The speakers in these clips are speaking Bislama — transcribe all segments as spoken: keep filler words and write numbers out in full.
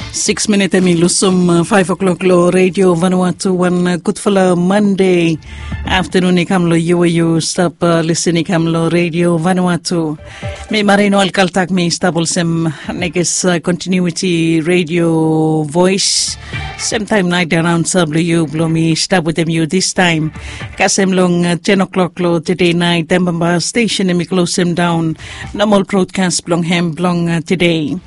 Siks minit em i lusum faef o'klok long redio vanua tu wan gudfala mande aftanun i kam long yu we yu stap lisin i kam long redio vanua tu. Mi marino alkaltak mi stap olsem nekes kontinuiti redio vois. Semtaim nait araun sap long yu bilong mi stap wetem yu distaim kasem long ten o'klok long tede nait em bamba stesen em i klosem daun nomal brodkas bilong hem bilong tede.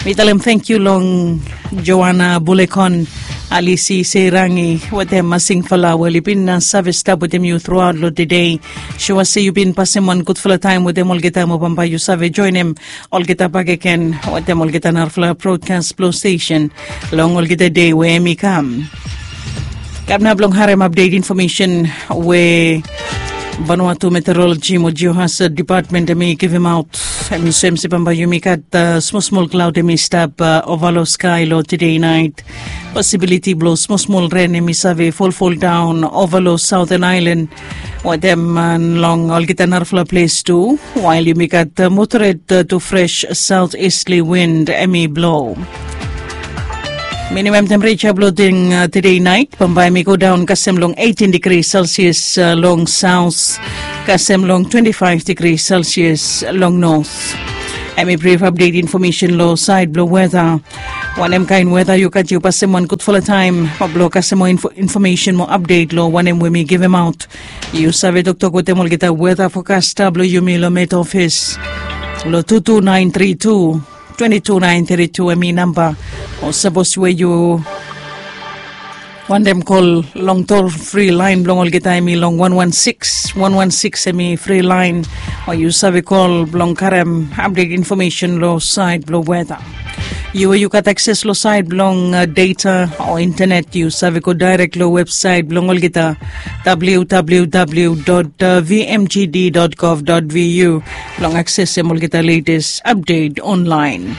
Mi talem thank you long Joana Bulekon, Alisi Seirangi wetem masingfala we oli bin save stap wetem yu truaut long tede. Sua se yu bin pasim wan gudfala taim wetem olgeta mo bamba yu save joinim olgeta bakegen wetem olgeta narafala brodkas bilong stesen long olgeta de we em i kam. Kam na bilong harim update information we Vanuatu Meteorology mo Geohazard Department em i givim aut. Em i soem se bamba yumi gat smol smol klaud em i stap ova long skai long tede nait. Posibiliti bilong smol smol ren em i save folfol daun ova long Southern Island wetem long olgeta narafala ples tu. Wail yumi gat moderate to fresh south eastly wind em i blo. Minimum temperature bilong tede nait bamba em i go daun kasem long eighteen degrees Celsius long south kasem long twenty-five degrees Celsius long north. Em i brief update information long side bilong weather. Wanem kain weather yu gat yu pasim wan gudfala taim bilong kasem mo information mo update long wanem we mi givim aut. Yu save toktok wetem olgeta weather forecast bilong yumi long met office long two two nine three two twenty two nine three two em i namba. O sapos we yu wantem kol long tol fri lain bilong olgeta em i long one one six one one six em i fri lain. O yu save kol bilong karim update information long sait bilong weather. Yu we yu gat akses long sait bilong data o internet yu save go direct long website bilong olgeta www vmgd gov vu bilong aksesim olgeta latest update online.